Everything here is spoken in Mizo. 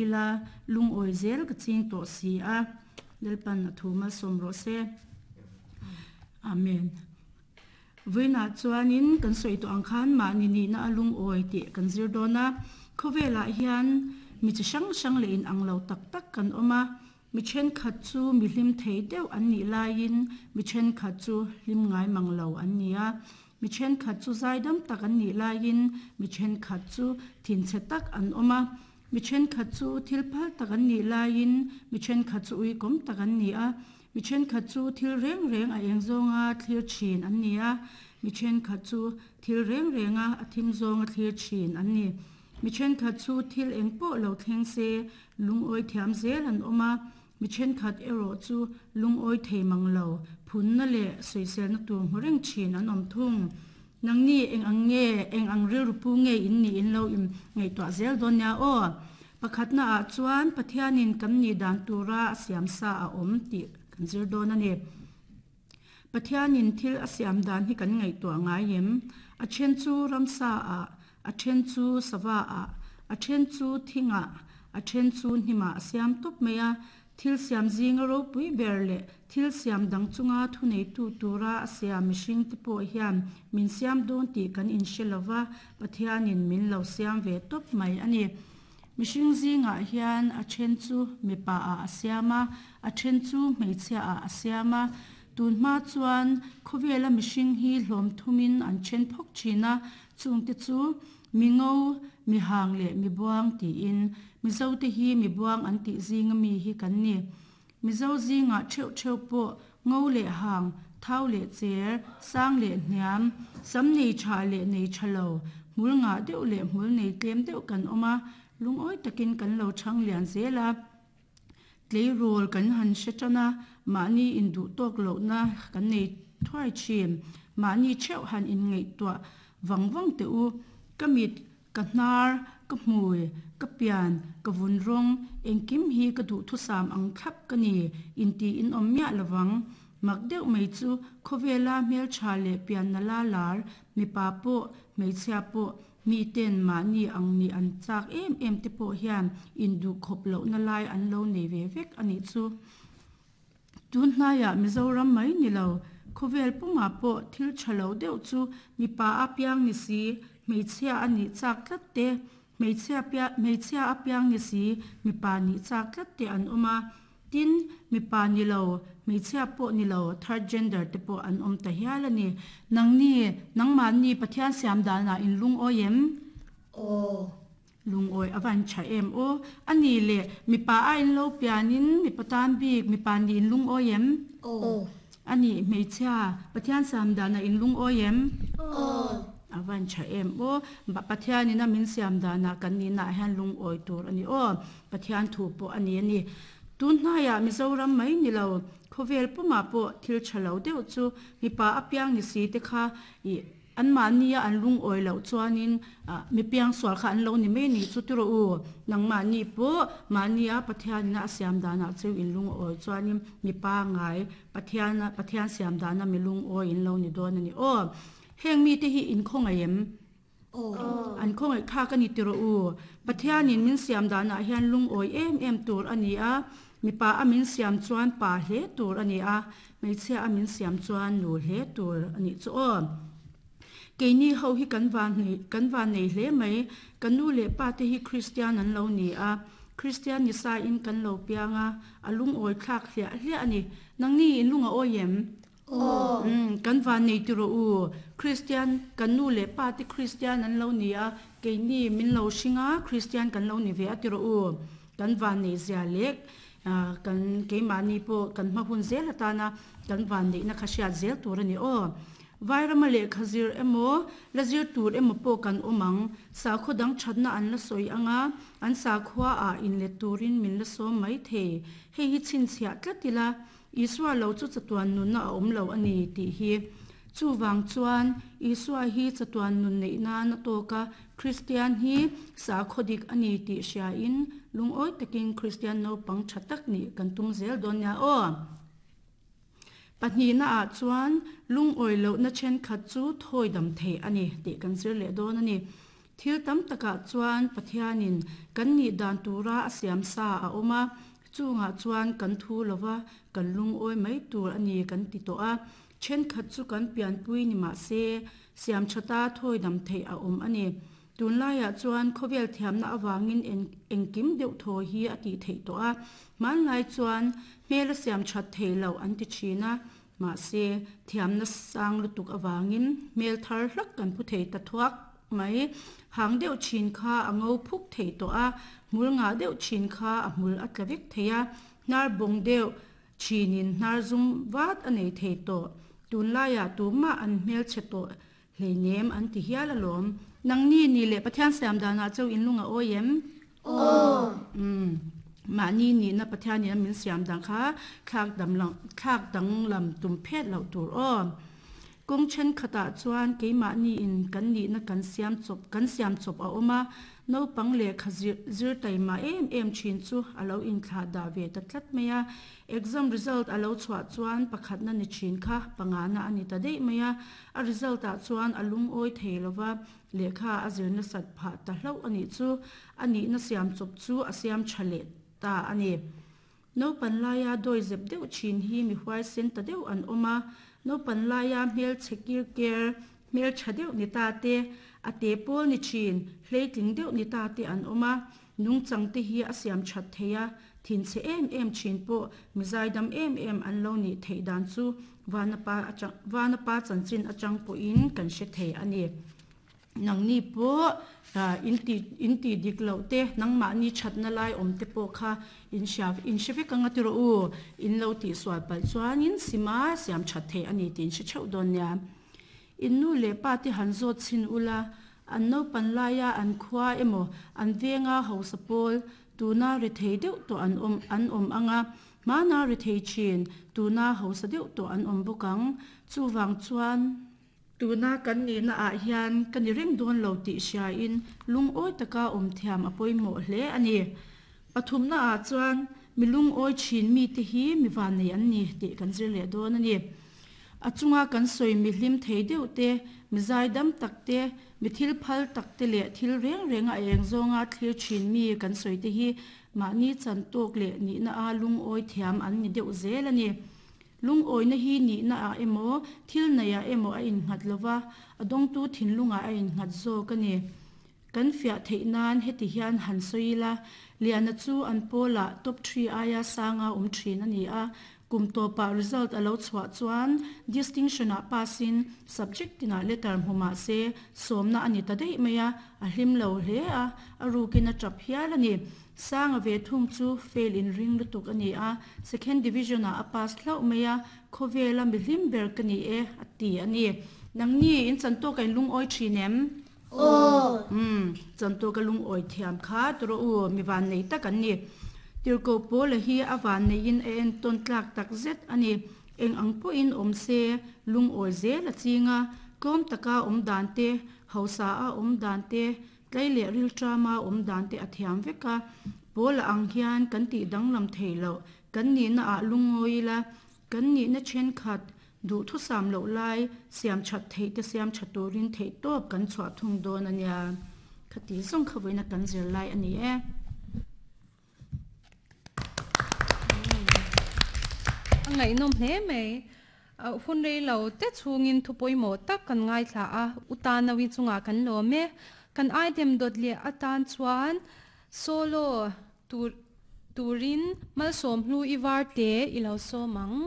ila lungawi zel ka ching tawh si a, Lalpan a thu malsawm rawh se. Amen. Vawiinah chuanin kan sawi tawh ang khan mahni nihna a lungawi tih kan zir dawn a, khawvelah hian mi chi hrang hrang leh inang lo tak tak kan awm a, Mi thenkhat chu mi hlim thei deuh an nih laiin mi thenkhat chu hlim ngai mang lo an ni a. Mi thenkhat chu zaidam tak an nih laiin mi thenkhat chu thinchhe tak an awm a. Mi thenkhat chu thil phal tak an nih laiin mi thenkhat chu uikawm tak an ni a. Mi thenkhat chu thil reng reng a eng zawnga thlir thin an ni a. Mi thenkhat chu thil reng renga a thim zawnga thlir thin an ni. Mi thenkhat chu thil eng pawh lo thleng se lungawi thiam zel an awm a, mi thenkhat erawh chu lungawi thei mang lo, phunna leh sawiselna tur hmu reng thin an awm thung. Nangni eng ang nge, eng ang rilru pu nge in nih in lo im ngaihtuah zel dawn nia aw. Pakhatna ah chuan Pathianin kan nih dan tura a siam sa a awm tih kan zir dawn a ni. Pathianin thil a siam dan hi kan ngaihtuah ngai em? A then chu ramsa ah, a then chu sava ah, a then chu thing ah, a then chu hnim ah a siam tawp mai a. Thil siam zinga ropui ber leh thil siam dang chunga thuneitu tura a siam mihring te pawh hian min siam dawn tih kan inhre lo va, Pathianin min lo siam ve tawp mai a ni. Mihring zingah hian a then chu mipa ah a siam a, a then chu hmeichhia ah a siam a. Tun hma chuan khawvela mihring hi hlawm thumin an then phawk thin a, chungte chu mi ngo, mi hang leh mi buang tiin Mizote hi mi buang an tih zinga mi hi kan ni. Mizo zingah theuh theuh pawh ngo leh hang, thau leh cher, sang leh hniam, sam nei tha leh nei tha lo, hmul ngah deuh leh hmul nei tlem deuh kan awm a, lungawi takin kan lo chhang lian zel a. Tleirawl kan han hre tan a, mahni induh tawk lohna kan nei thuai thin. Mahni theuh han inngaihtuah vang vang teh u. Ka mit Ka hnar, ka hmui, ka pian, ka vun rawng, engkim hi ka duhthusam ang thlap ka ni, inti in awm miah lovang. Mak deuh mai chu khawvela hmeltha leh pianna la lar, mipa pawh, hmeichhia pawh, miten mahni ang nih an chak em em te pawh hian induhkhawp lohna lai an lo nei ve vek a nih chu. Tun hnaiah Mizoram mai ni lo, khawvel pumah pawh thil tha lo deuh chu mipa a piang ni si, hmeichhia a nih chak tlat te, hmeichhia pia hmeichhia a piang ni si, mipa nih chak tlat te an awm a. Tin, mipa ni lo, hmeichhia pawh ni lo, third gender te pawh an awm ta hial a ni. Nangni, nangmahni Pathian siam danah in lungawi em? Aw. Lungawi a van tha em aw. A ni le, mipa a in lo pianin mipa tan bik, mipa nih in lungawi em? Aw. A nih, hmeichhia, Pathian siam danah in lungawi em? Aw. A van tha em aw. Pathianin a min siam danah kan nihnaah hian lungawi tur a ni aw. Pathian thu pawh a ni a ni. Tun hnaiah Mizoram mai ni lo, khawvel pumah pawh thil tha lo deuh chu mipa apiang ni si te kha ih Anmahnia an lungawi loh chuanin mi piangsual kha an lo ni mai ni chu ti rawh u. Nangmahni pawh mahnia Pathianina a siam danah chu in lungawi chuanin mi pangai Pathiana Pathian siam dana mi lungawi in lo ni dawn a ni aw. Heng mite hi in khawngaih em? Aw. An khawngaih thlak a ni ti rawh u. Pathianin min siam danah hian lungawi em em tur a ni a, mipa a min siam chuan pa hle tur a ni a, Hmeichhia a min siam chuan nu hle tur a nih chu aw. Keini ho hi kan van kan van nei hle mai. Ka nu leh pa te hi Kristian an lo ni a, Kristian ni sa in kan lo piang a, a lungawi thlak hliah hliah a ni. Nangni in lung a awi em? Aw. Umm kan van nei ti rawh u. Kristian kan nu leh pa te Kristian an lo ni a, keini min lo hring a, Kristian kan lo ni ve a ti rawh u. Kan van nei zia lek. Kan keimahni pawh kan hma hun zel atana kan vanneihna kha hriat zel tur a ni aw. Vairama lehkha zir emaw, la zir tur emaw pawh kan awm ang. Sakhaw dang thatna an la sawi ang a, an sakhua ah inlet turin min la sawm mai thei. Hei hi chhinchhiah tlat ila, Isua lo chu chatuan nunna a awm lo a ni tih hi. Chuvang chuan Isua hi chatuan nun neih nan a tawk a, Kristian hi sakhaw dik a ni tih hriain lungawi takin Kristian naupang tha tak nih kan tum zel dawn nia aw. Pahnihna ah chuan lungawi lohna thenkhat chu thawi dam theih a ni tih kan zir leh dawn a ni. Thil tam takah chuan Pathianin kan nih dan tura a siam sa a awm a, chungah chuan kan thu lova kan lungawi mai tur a ni kan ti tawh a. Thenkhat chu kan pianpui ni mah se, siam thata thawi dam theih a awm a ni. Tunlaiah chuan khawvel thiamna avangin engkim deuh thaw hi a tih theih tawh a, hmanlai chuan hmel a siam that theih loh an ti thin a, mahse thiamna sang lutuk avangin hmel thar hlak kan pu thei ta thuak mai. Hang deuh thin kha a ngo phuk thei tawh a, hmul ngah deuh thin kha a hmul a tla vek thei a, hnar bawng deuh thinin hnar zum vat a nei thei tawh. Tunlaiah tumah an hmelchhe tawh Hleinem an ti hial alawm. Nangni ni leh Pathian siam danah chauh in lung a awi em? Aw. Umm. Mahni nihna Pathianin a min siam dan kha thlak dam lo, thlak danglam tum phet loh tur aw. Kawng thenkhatah chuan keimahni in kan nihna kan siam chawp, kan siam chawp a awm a, naupang lehkha zir, zir taima em em thin chu a lo inthlah dah ve ta tlat mai a. Exam result a lo chhuah chuan pakhatna ni thin kha pangana a ni ta daih mai a. A result ah chuan a lungawi thei lova, lehkha a zir nasat phah ta hlauh a nih chu. A nihna siam chawp chu a siam tha leh ta a ni. Naupan laia dawi zep deuh thin hi mi huaisen ta deuh an awm a, naupan laia hmelchhe kir ker, hmeltha deuh ni ta te, a te pawl ni thin, hleitling deuh ni ta te an awm a. Nungchang te hi a siam that thei a, thinchhe em em thin pawh mi zaidam em em an lo nih theih dan chu Vanapa atang Vanapa chanchin atang pawhin kan hre thei a ni. Nangni pawh in tih in tih dik loh te, nangmahni thatna lai awm te pawh kha in hria in hre vek anga ti rawh u, in lo tihsual palh chuanin sima siam that theih a ni tih in hre theuh dawn nia. In nu leh pa te han zawt chhin ula, an naupan laia an khua emaw an venga hausa pawl tuna rethei deuh tawh an awm an awm ang a, hmana rethei thin tuna hausa deuh tawh an awm bawk ang. Chuvang chuan tuna kan nihna ah hian ka ni reng dawn lo tih hriain lungawi taka awm thiam a pawimawh hle a ni. Pathumna ah chuan mi lungawi thin mite hi mi vannei an ni tih kan zir leh dawn a ni. A chunga kan sawi mi hlim thei deuh te, mi zaidam tak te, mi thil phal tak te leh thil reng renga a eng zawnga thlir thin mi kan sawi te hi mahni chan tawk leh nihna a lungawi thiam an ni deuh zel a ni. Lungawina hi nihna ah emaw, thil neih ah emaw a innghat lova, a dawngtu thinlungah a innghat zawk a ni. Kan fiah theih nan heti hian han sawi ila, Liana chu an pawlah top three aia sanga awm thin a ni a, kum tawpah result a lo chhuah chuan distinction-ah pass-in subject tinah letter hmu mah se sawmna a ni ta daih mai a, a hlim lo hle a, a rukin a tap hial a ni. Sanga ve thung chu fail inring lutuk a ni a, second division-ah a pass hlauh mai a, khawvela mi hlim ber ka ni e a ti a ni. Nangni in chantawk a inlungawi thin em? Aw. Umm, chantu ka lungawi thiam kha tawh u, mi vannei tak an ni. Tirhkoh Paula hi a vanneiin a entawn tlak tak zet a ni. Eng ang pawhin awm se, lungawi zel a ching a, tlawm taka awm dan te, hausa a awm dan te, tlei leh rilṭama awm dan te a thiam vek a. Paula ang hian kan tih danglam thei loh, kan nihna ah lungawi ila, Kan nihna thenkhat duhthusam loh lai siam that theih te siam tha turin theih tawp kan chhuah thung dawn a nia. Khati zawng kha vawiina kan zir lai a ni e. A ngaihnawm hle mai. Hun rei lo te chhungin thu pawimawh tak kan ngaithla a, U Tanawi chungah kan lawm e. Kan item dawt leh atan chuan solo tur turin malsawm hlu i var te i lo sawm ang.